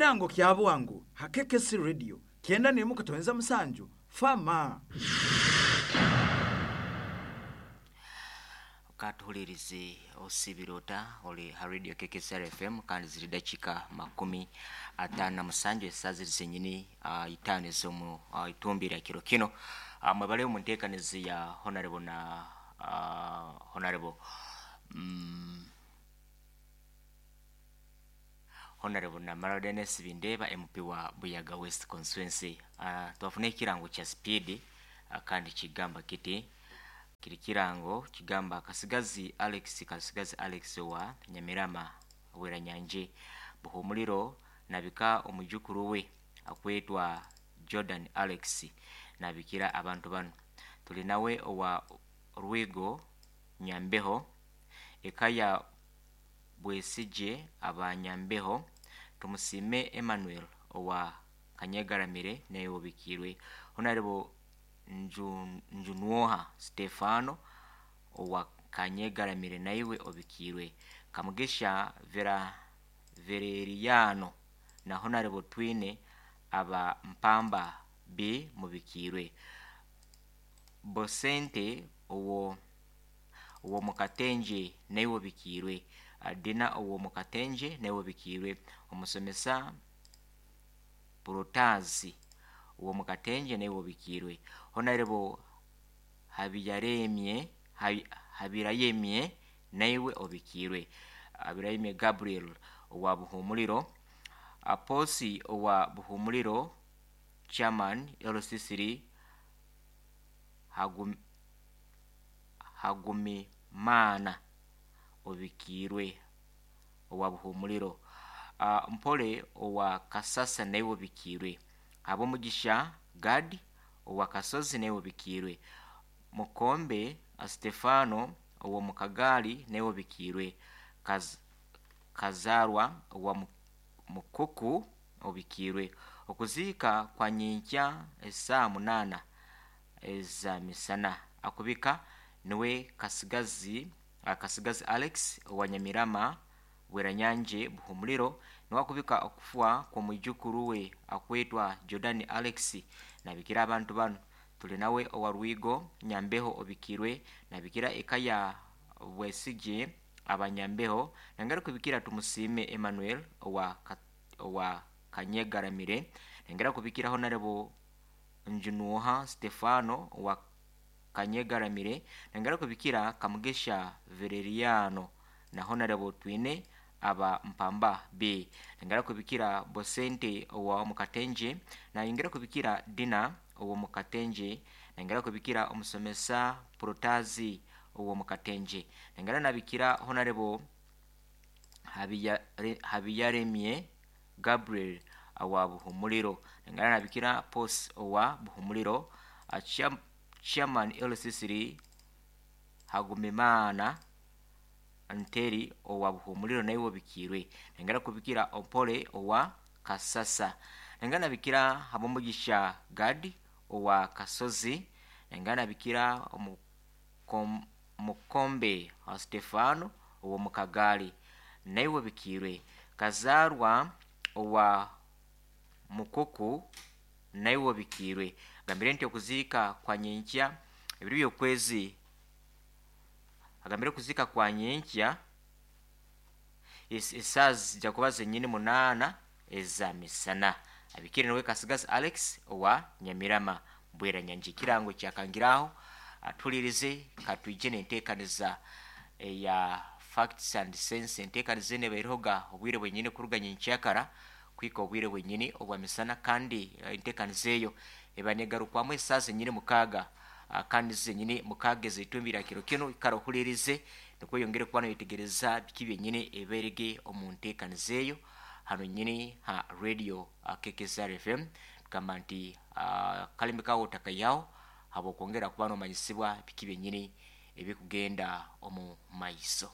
Ekirango kya bwangu ha KKC Radio 91.7 Fama. Katuhulirize osibire ota oli ha radio KKCR FM kandi ziri dakika 57 esaaha ziri zenyini 5 ez'omu itumbi lya kiro kino. Mwebale omu nteekanizi ya Honorable na Honorable Honorable Namara Dennis Bindeba MP wa Buyaga West Constituency. Twafuna ekirango kya speed kandi kigamba kiti kiri kirango kigamba Kasigazi Alex Kasigazi Alex wa Nyamirama Bweranyanje Buhumuliro nabika omujukuru we akwetwa Jordan Alex nabikira abantu bano. Tuli nawe owa Rwigo Nyambeho eka ya Bwesije abanyambeho Tumusiime Emmanuel owa Kanyegaramire naye obikirwe. Honorable Njunwoha Stefano owa Kanyegaramire naiwe obikirwe. Kamugisha Vera Vereriano na Honorable Twine aba Mpamba B mubikirwe. Bosente owo Mukatenje naiwe obikirwe. Dina owo Mukatenje naiwe obikirwe. Omusomesa Protazi owo Mukatenje naiwe obikirwe. Honorable Habiyaremye Habirayemye naiwe obikirwe. Habirayemye Gabriel owa Buhumuliro. Aposi owa Buhumuliro Chairman LC3 Hagumimana obikirwe owa Buhumuliro. Mpole owa Kasasa naiwe obikirwe. Abomugisha Gad owa Kasozi naiwe obikirwe. Mukombe Stefano owa Mukagali naiwe obikirwe. Kazarwa owa Mukuku obikirwe. Okuziika kwa nyinkya esaa 8 eza misana. Akubika niwe Kasigazi Alex owa Nyamirama Bweranyanje Buhumuliro niwe akubika okufa kw'omwijukuru we akwetwa Jordan Alex nabikira abantu bano. Tuli nawe owa Rwigo Nyambeho obikirwe nabikira eka ya Bwesije abanyambeho nangara kubikira Tumusiime Emmanuel owa Kanyegaramire nangara kubikira Honorable Njunwoha Stefano owa Kanyegaramire nangara kubikira Kamugisha Vereriano na Honorable Twine aba Mpamba B nangara kubikira Bosente owa Mukatenje na ingera kubikira Dina owa Mukatenje nangara kubikira omusomesa Protazi owa Mukatenje nangara nabikira Honorable Habiyaremye Gabriel owa Buhumuliro nangara nabikira Pos owa Buhumuliro Chairman LC3 Hagumimana Nteri owa Buhumuliro naiwe obikirwe. Nangara kubikira Opole owa Kasasa nangara nabikira Habomugisha Gad owa Kasozi nangara nabikira Mukombe wa Stefano owa Mukagali naiwe obikirwe. Kazarwa owa Mukuku naiwe obikirwe. Agambire nti okuziika kwa nyenkya ebiro by'okwezi agambire okuziika kwa nyenkya esaaha zijja kuba zenyini 8 eza misana. Abikire niwe Kasigazi Alex owa Nyamirama Bweranyanje. Ekirango kyakangiraho atulirize katwije n'enteekaniza eya Facts and Sense. Enteekaniza eno ebairehoga obwire bwenyini kuruga nyenkyakara kuhika obwire bwenyini obwa misana kandi enteekaniza eyo eba negarukwamu esaaha zenyini 6 kandi zenyini 6 ez'eitumbi lya kiro kino. Ikara ohulirize nikwo oyongere kuba noyetegereza biki byenyini eberege omu nteekaniza eyo hano nyini ha radio KKCR FM. Tugamba nti kalimi kawo otakayaho habwokwongera kuba nomanyisibwa biki byenyini ebikugenda omu maiso.